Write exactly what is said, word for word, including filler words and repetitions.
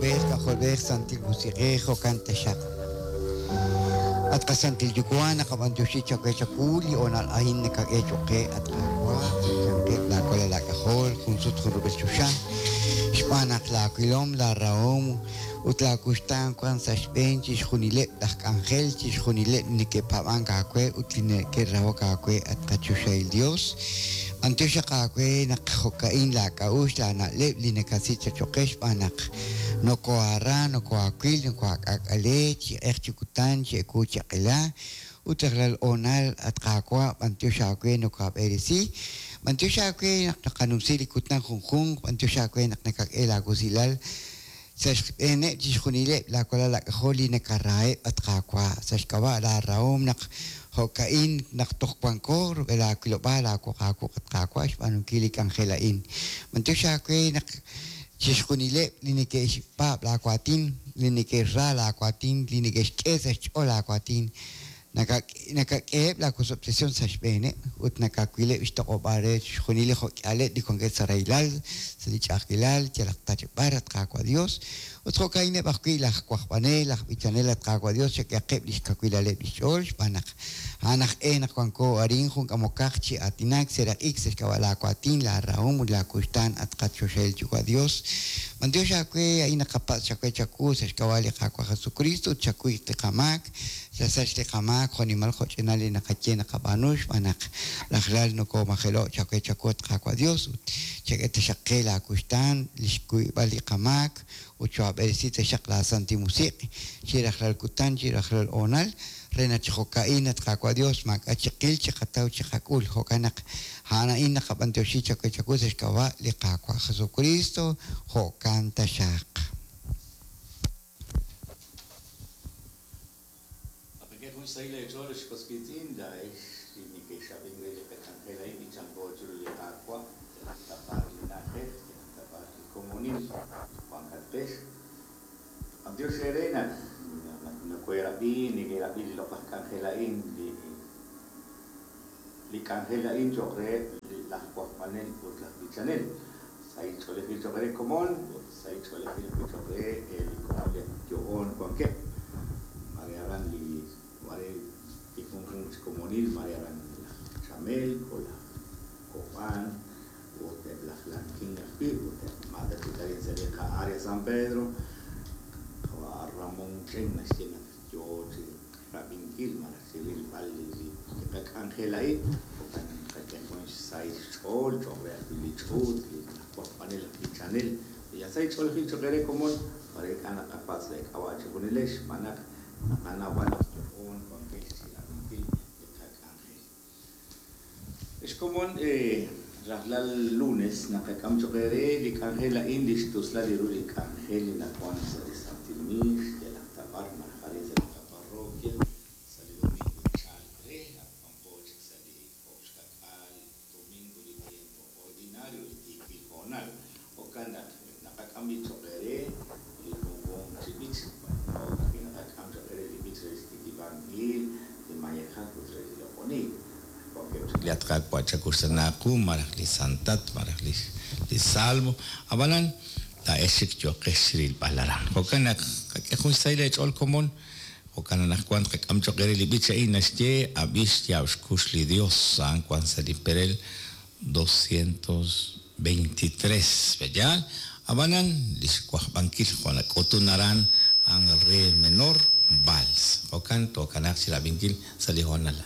Kajolb'ej Santil Musiq'ej jo'kan taxaq. At qasantil Yuwa' naqab'antioxi chawe chawu li hoonal a'in nakak'e choq' qe at Qaawa' chanqeb' laawalal aak'ajol jun sut jun rub'el choxa xb'aan naq laawilom laarahom ut laakuxtaan wan sa' xb'een chixjunileb' laj k'anjel chixjunileb' neke'paab'ank aawe ut li neke'rahok aawe at qachoxahil Dios. B'antiox aawe naq jo'ka'in laak'a'uxl laana'leb' li nakasik choq' qe xb'aan naq nokohara, nokohaawil, nokohaak'aak'ale chi q'eq chi kutan, chi ewu chi q'ela ut rajlal hoonal at Qaawa' b'antiox aawe nokohaab'eresi. B'antiox aawe naq naqanumsi li kutan junjunq, b'antiox aawe naq nakak'e laawusilal sa' xb'eeneb' chixjunileb' laawalal aak'ajol li nakaraheb' at Qaawa' sa' xk'ab'a' laarahom naq jo'ka'in naq toj wanko rub'el aawilob'aal aawoq aawuq at Qaawa' xb'aanunkil li k'anjel a'in. B'antiox aawe naq chixjunileb' li neke'xpaab' laawaatin, li neke'xra laawaatin, li neke'xk'e sa' xch'ool laawaatin, nakak'eheb' laawosob'tesihom sa' xb'eeneb' ut nakawileb' xtoq'ob'aal re chixjunil li jo'k'ihaleb' li wankeb' sa' rahilal, sa' li ch'a'ajkilal, yalaq ta chi b'ar at Qaawa' Dios. Ut jo'ka'ineb' ajwi' laj wajb'anel, laj b'ichanel at Qaawa' Dios chak'ehaqeb' lix kawilaleb' lix ch'ool xb'aan naq a'an aj e naq wanko arin jun k'amokaq chi aatinak seraq'ik sa' xk'ab'a' laawaatin, laarahom ut laakuxtaan at qachoxahil Yuwa' Dios. B'antiox aawe a'in naqapatz' chawe chawu sa' xk'ab'a' li Qaawa' Jesucristo ut chakuy li qamaak, chasach li qamaak jo'nimal jo'ch'inal li naqaye naqab'aanu xb'aan naq rajlal nokomajelo' chawe chawu at Qaawa' Dios ut chak'e taxaq qe laakuxtaan li xkuyb'al li qamaak ut choab'eresi taxaq laasantil musiq' chi rajlal kutan chi rajlal hoonal re naq chi jo'ka'in at Qaawa' Dios maak'a' chiqil chiqataw chiqak'ul jo'kan naq a'an a'in naqab'antioxi chawe chawu sa' xk'ab'a' li Qaawa' Jesucristo jo'kan taxaq. Dios serena, nokoherab'i, nekerab'i li loq'laj k'anjel a'in, li li k'anjel a'in choq' reheb' laj wajb'anel ut laj b'ichanel. Sahil ch'oolejil choq' re komon ut sahil ch'oolejil choq' re li komon li yo'oon wankeb'. Mare aran li mare li junjunq chi komonil, mare aran laj Chamelco, laj Copán, ut eb' laj Lanquín ajwi', ut eb' Mata Chitarin sa' li qa-área San Pedro. Ramón Chen naxye naq yoo chi rab'inkil malaj chi rilb'al li li qak'anjel a'in jo'kan qak'e jun xsahil xch'ool choq' re ajwi' li ch'uut li laj wajb'anel laj b'ichanel li sahil ch'oolejil choq' re komon mare ink'a' naqapatz' leek'ab'a' chixjunilex xb'aan naq naqanaw naq yo'oon wankex chi rab'inkil li qak'anjel. Ex komon rajlal lunes naqak'am choq' re li k'anjel a'in li xtuslal li ru li k'anjel li nawan sa' li Santil Miix yalaq ta b'ar malaj arin sa' li qaparroquia sa' li domingo chalk re ak wanko chik sa' li oob' xka'k'aal domingo li tiempo ordinario li tiikil hoonal jo'kan naq naqak'am li choq' re li junjunq chi b'ich ajwi' naqak'am choq' re li b'ich re xtikib'ankil li mayejak ut re li loq'oniik. Li at Qaawa' chakuxtanaaqu malaj li santat malaj li li salmo ab'anan laa'ex chik yooqex rilb'al aran jo'kan naq qak'e jun xsahil eech'ool komon jo'kan anaqwan qak'am choq' re li b'ich a'in naxye ab'i xyaab' xkux li Dios a'an wan sa' li perel doscientos veintitrés b'eyal ab'anan li xwajb'ankil jo' nak'utun aran a'an re menor vals jo'kan tookanaaq chi rab'inkil sa' li hoonal.